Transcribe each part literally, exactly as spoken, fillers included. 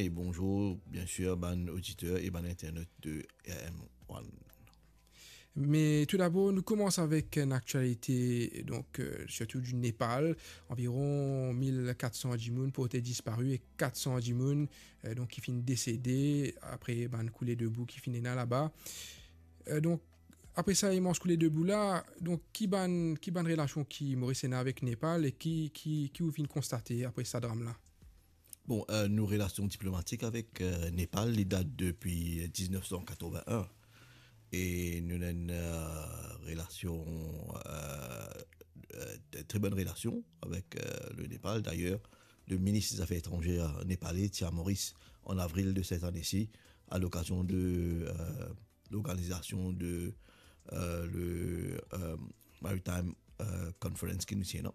E bonzour, bien sir, bann oditer e bann internot de R M One. Me tou dabor, nou koumans avek enn aktialite, donk, euh, sirtou di Nepal. Anviron mil kat san dimoun porte dispari e kat san dimoun, euh, donk, ki finn desede apre bann koule debou ki finn ena laba. Euh, donk, apre sa imans koule debou la, donk, ki bann, ki bann relasion ki Moris ena avek Nepal e ki, ki, ki ou finn konstate apre sa dram la? Bon, euh, nou relasion diplomatik avek, euh, Nepal, li dat depi diznef san katrovin-enn. E nou ena enn, euh, relasion, euh, euh, de tre bonn relasion avek, euh, le Nepal. Dayer, le minis zafer etranzer nepale ti a Moris an avril de set ane-si, a lokazion de, euh, lorganizasion de, euh, le, euh, Maritime, euh, Conference ki nou ti ena.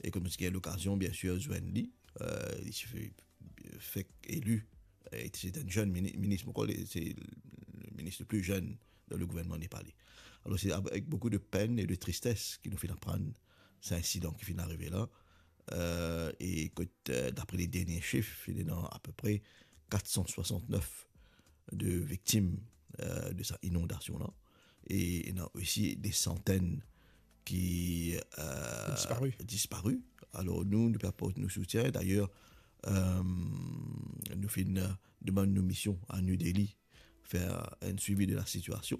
E kot nou ti gagn lokazion, bien sir, zwenn li, euh, li ti fe-, fek eli, e se enn zenn mini-, minis, mo krwar li, se le minis le pli zenn dan le gouvernman nepale. Alor, se avek boukou de penn e de tristes ki nou finn aprann sa insidan ki finn arive la. Euh, e kot, euh, dapre le dernie sif, ena apepre kat san swasant-nef de viktim, euh, de sa inondasion la. E ena osi de santenn ki, euh, dispari. Dispari. Alor nou, nou pe aport nou soutien. Dayer, euh, nou finn, euh, demann nou mision a New Delhi fer enn swivi de la sitiasion.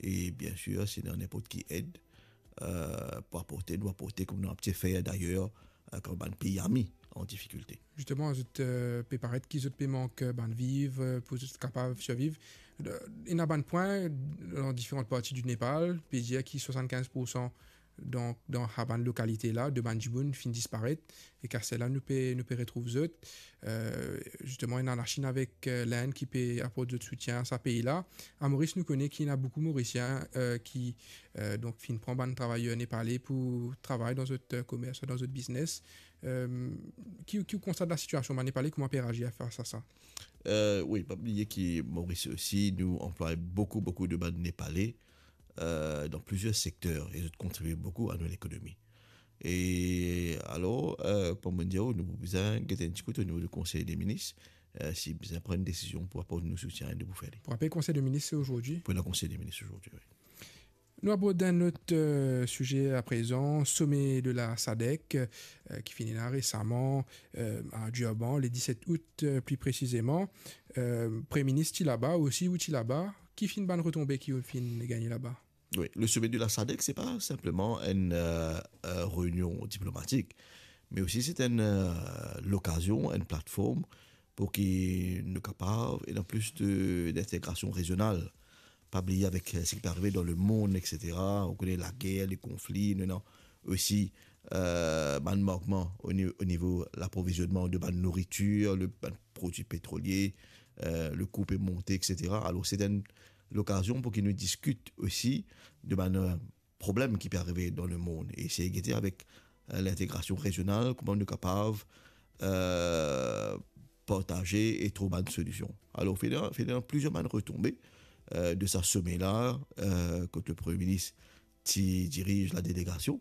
E bien sir, si ena ninport ki ed, euh, pou aporte, nou aporte kouma nou abitie fer dayer, euh, kan bann pei ami an difikilte. Zisteman, zot, euh, pe paret ki zot pe mank, euh, bann viv, euh, pou zot kapav sirviv. Euh, ena bann pwin dan diferan parti di Nepal, pe dir ki swasannkinz poursan, donk, dan sa bann lokalite la, de bann dimoun finn disparet, e ki aster la nou pe, nou pe retrouv zot. Euh, zisteman, ena Lasinn avek, euh, Lind ki pe aport zot soutien a sa pei la. A Moris, nou kone ki ena boukou Morisien, euh, ki, euh, donk, finn pran bann travayer nepale pou travay dan zot, euh, komers, dan zot biznes. Euh, ki, ki ou konstat lasitiasion, bann Nepale, kouma pe reazir fas a sa? Euh, wi, pa bliye ki Moris osi, nou anplway boukou, boukou de bann Nepale, euh, dan plizier sekter, e zot kontribie boukou a nou lekonomi. E alor, euh, pou mo dir, nou bizin get enn ti kout o nivo de Konsey de Minis, euh, si bizin pran enn desizion pou aport nou soutien e pou fer li. Pou rapel, Konsey de Minis, se azordi? Pou le Konsey de Minis azordi, wi. Nou abord enn lot, euh, size aprezan, some de la sadek, euh, ki finn ena resaman, euh, a Durban, le diset out, euh, pli presizeman. Euh, Premie Minis ti laba, osi ou ti laba. Ki finn bann retonbe ki ou finn gagne laba? Wi, le some de la sadek, se pa sinpleman enn, euh, euh, reynion diplomatik, me osi se enn, euh, lokazion, enn platform pou ki nou kapav ena plis de, dintegrasion rezional. Pa bliye avek, euh, seki pe arive dan lemond, et cetera. Ou kone lager, le konfli, nou ena osi, euh, bann mankman o ni-, o nivo laprovizionnman de bann nouritir, le, bann prodwi petrolie, euh, le kou pe monte, et cetera. Alor, se enn lokazion pou ki nou diskit osi de bann, euh, problem ki pe arive dan lemond e esey gete avek, euh, lintegrasion rezional, kouma nou kapav, euh, partaze e trouv bann solision. Alor, finn ena, finn ena plizier bann retonbe, euh, de sa some la, euh, kot le Premie Minis ti diriz la delegasion.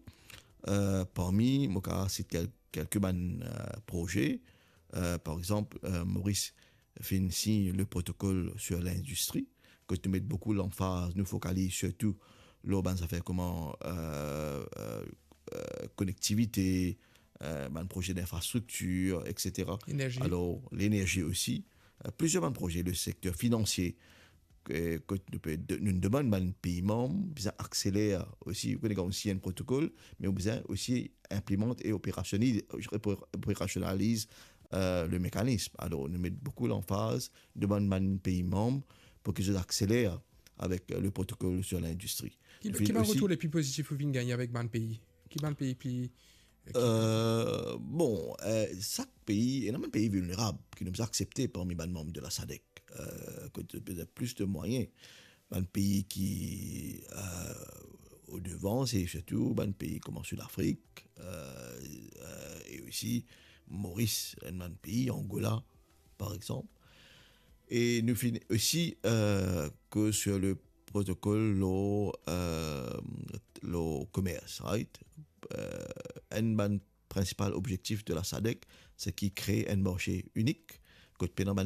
Euh, parmi, mo kapav sit kel-, kelke bann, euh, proze, euh, par exanp, euh, Moris finn sign le protokol sur lindistri, kot nou met boukou lanfaz, nou fokaliz sirtou lor bann zafer kouma, euh, euh, euh, konektivite, euh, bann proze dinfrastriktir, et cetera. Lenerzi. Alor, lenerzi osi, euh, plizier bann proze, le sekter finansie, ke, kot nou pe de-, nou demann bann pei manm, bizin akseler osi, ou kone kan ou sign enn protokol, me ou bizin osi inplimant e operasioni-, operasionaliz, euh, le mekanism. Alor, nou met boukou lanfaz, demann bann pei manm pou ki zot akseler avek, euh, le protokol sur lindistri. Ki, ki bann retour le pli pozitif ou finn gagne avek bann pei? Ki bann pei pli, euh, ki Euh, bon, euh, sak pei, ena bann pei vilnerab ki nou bizin aksepte parmi bann manm de la sadek, euh, kot bizin plis de mwayin. Bann pei ki, euh, o devan, se sirtou bann pei kouma Sid Afrik, euh, euh, e osi Moris, enn bann pei, Angola, par exanp. E nou finn osi, euh, koz sur le protokol lor, euh, lor komers, right? Euh, enn bann prinsipal obzektif de la sadek, se ki kree enn marse inik, kot pena bann